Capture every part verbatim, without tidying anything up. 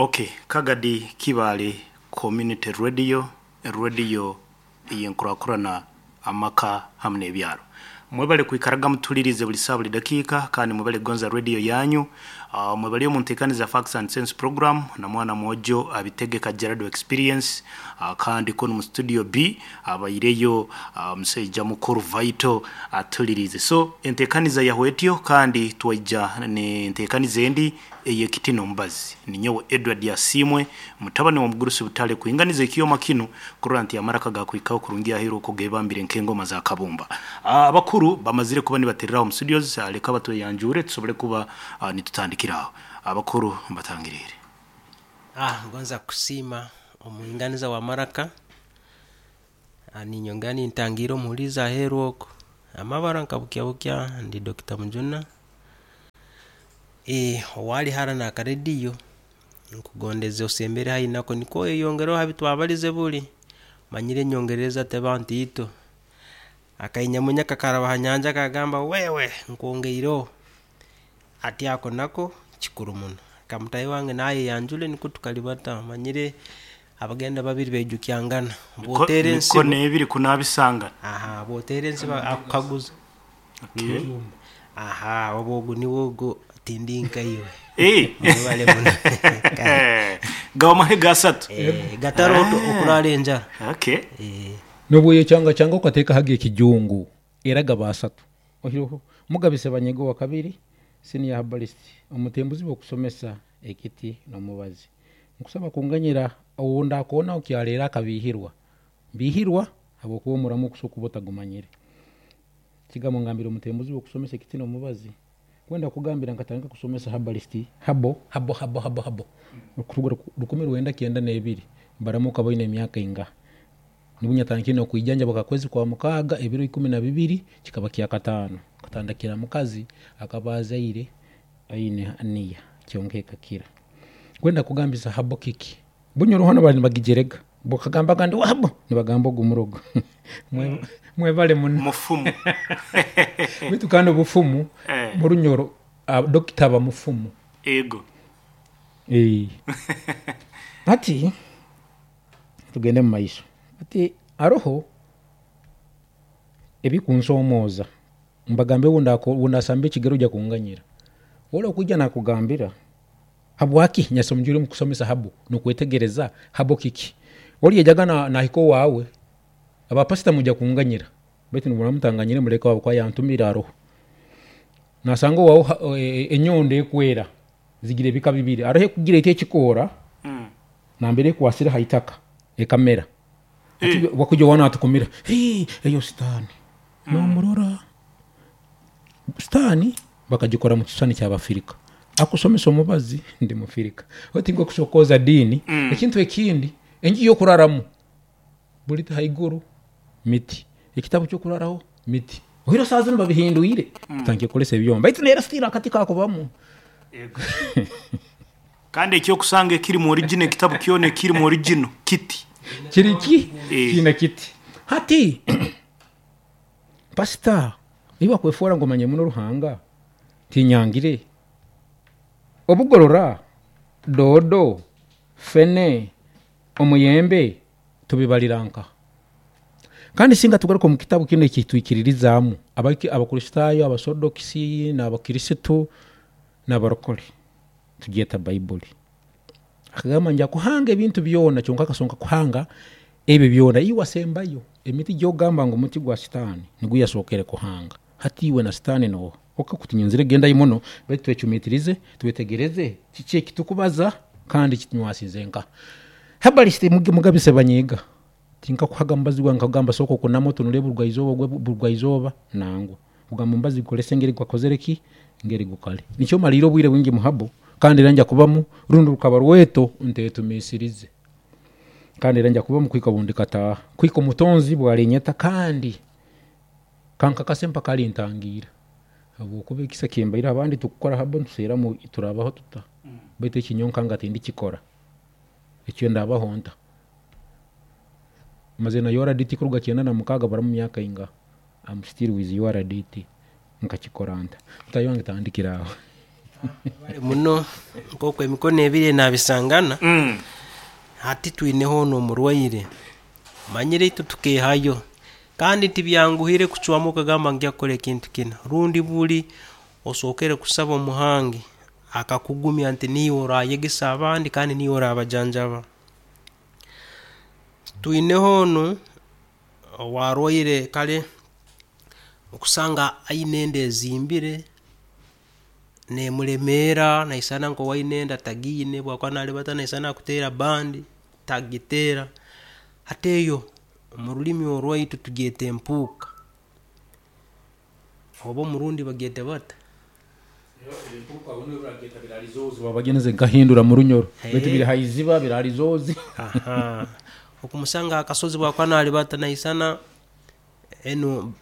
Okay, Kagadi Kibaale Community Radio, radio ey'enkurakurana amaka hamu n'ebyaro. Mwebale kwikaraga mutulirize buli saa, buli dakiika, kandi mwebale kugonza radio yanyu. uh, mwebale omu nteekaniza Facts and Sense program na mwana mwojo abitegeka Gerard Experience. uh, kandi kunu mu studio B abaireyo uh, musaija mukuru Vital atulirize. So enteekaniza yahwetyo, kandi twaija n'enteekaniza endi ey'ekiti n'omubazi. Ninyowe Edward Yasimwe, mutabani wa mugurusi Butale, kuinganiza ekyoma kinu kurora nti amaraka gakwikaho kurungi ahiru uko gebambire nk'engoma za kabumba. Abakuru bamazire kuba nibatereraho mu studios. Leka batweyanjure tusobole kuba uh, nitutandikiraho. Abakuru, mbatangirire. Ah, ngonza kusiima omuhinganiza wa maraka. Ah, ninyongera nintangira omuhulizi aheeru okwo amabara nkabukya ndi Doctor Mujuna. Eh, owali hara nakarediyo, nkugondeze osembere haihi nako nikwo oyeyongereho habi twabalize buli manyire enyongereza teba ntiito. Akainyamunya kakaraba ha nyanja kagamba, "Wewe nkwongeireho." Ati ako nako kikuru muno. Kamutahi wange nayeyanjule nikwo tukalibata. Manyire abagenda babiri beijukyangana bwotera ensibo. Mikono ebiri kunabisangana. Aha, bwotera ensibo akukaguza. Okay. Aha, oba ogu niwe ogu, tindi nkaiwe. Eh. Mwebale muno. Gawa gasatu. Eh, gataro okurara enjara. Okay. Eh. Nobwoyo kyanga kyanga okateeka haga ekijungu era gaba asatu. Ohiroho mugabise banyego wa kabiri, senior herbalist, omutembuzi bw'okusomesa ekiti n'omubazi. Nkusaba kunganyira owunda akoona okyaleera akabihirwa mbihirwa habwokuba omuramu okusoka kuba otagumanyire. Kigambo ngambira omutembuzi bw'okusomesa ekiti n'omubazi, kwenda kugambira nkatandika kusomesa herbalist habo habo habo habo habo okuruga rukumi rwenda kyenda n'ebiri. Baramuka baine emyaka ingaha? Nibwo nyatandikire n'okwijanja bakakwezi kwa mukaaga ebiro ikumi na bibiri, kikaba kya kataano. Katandikira mukazi akaba azaire aine aniya kyonka ekakira. Kwenda kugambisa habo kiki bunyoro hano bali nibagijerega bakagambaga ndi wabo nibagamba ogu murogo. Mwe- mwebale muno. Mufumu. Bitu kandi obufumu Eh. murunyoro, ah, dokita aba mufumu. Ego. Eh. Ati tugende mu maiso. Ati aroho ebikunsomooza mbagambe wundasamba ekigero ojja kunganyira ora okwijja nakugambira habwaki nyasomjire omu kusomesa habo nokwetegereza habo kiki oli yajaga na- nahika owaawe. Abapasita mujja kunganyira, baitu nibura mutanganyire muleka wabo kwa yantumira. Aroho nasanga owawe ha- e- e- enyondo ekwera zigira ebika bibiri. Aroho ekugira eti ekikoora Mm. nambere ekwasire haitaka ekamera. Ati wakuja wana atukumira, "Hii, eyo sitaani." Nomurora sitaani bakagikora mu kisani kyabafirika. Akusomesa omubazi ndi mufirika otinga okusokoza diini. Ekintu ekindi, enju yokuraramu buli haiguru miti, ekitabu kyokuraraho miti. Ohiro saa zinu babihindwire, tutandike kukolesa ebyoma, baitu neera still akati kakubamu. Ego. Kandi ekyokusanga ekiri mu original, ekitabu kyona ekiri mu original kiti. Kiri ki? Eh. Kiina kiti. Hati pasita iwe akwefuura ngu omanye muno Ruhanga, tinyangire obugorora doodo fene omuyembe tubibalira nka. Kandi singa tugaruka omu kitabu kinu ekitwikiririzaamu Abaki- abakristaayo, abasodokisi n'abakirisitu n'abarokole, tugyeta Bayibuli. Akagamba nja kuhanga ebintu byona, kyonka akasonka kuhanga ebyo byona iwe asembayo emiti gyogamba ngu omuti gwa sitaani nigwo yasookere kuhanga. Hati iwe na sitaani noha? Okakutinyenzire gendayo muno, baitu twecumitirize, twetegereze kiki ekitukubaza kandi kitunywasize nka herbalist. Mugabise banyiga tinkakuhaga mubazi gwange nkagamba sooka okunama otunule burugwaizooba gwe burugwaizooba nangwa kugamba omubazi gukolese engeri gwakozere ki ngeri gukale. Nikyo maliire obwire bwingi muhabo, kandi era nja kubamu rundi rukaba rweto ntetumisirize, kandi era nja kubamu kwika bundi kataha kwika omutonzi bwalinyeta kandi kankakase mpaka alintangiira, habwokuba ekisa kimbaire. Abandi tukukora habo ntuseeramu turabaho tuta, baitu ekinyonka nga tindikikora ekyo ndabaho nta maze na U R D T kuruga kyenda na mukaaga, baramu myaka inga. I'm still with U R D T, nkakikora nta? Mutayi wange, tandikira aho. Muno nk'oku emikono ebiri enabisangana. Mm. Hati twineho n'omurwaire manyire itwe tukehayo, kandi tibyanguhire kucwamu okagamba ngya kukora ekintu kinu, rundi buli osookere kusaba omuhangi akakugumya nti niiwe orayegesa abandi kandi niiwe orabajanjaba. Twineho onu owarwaire kale okusanga aine enda ezimbire nemulemeera, naisana nk'owaine enda tagiine, bwakuba nalibata naisana akuteera bandi tagiteera. Hati eyo omu rulimi orwaitu tugyeta empuuka, oba omurundi bagyete bata? Babageneze nkahindura mu Runyoro, baitu biri haiziba birarizozi. Aha. Okumusanga akasozi bwakuba nalibata naisana enu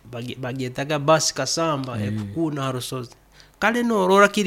bagyetaga basi kasamba ekukuuna ha rusozi, kale norora kiri.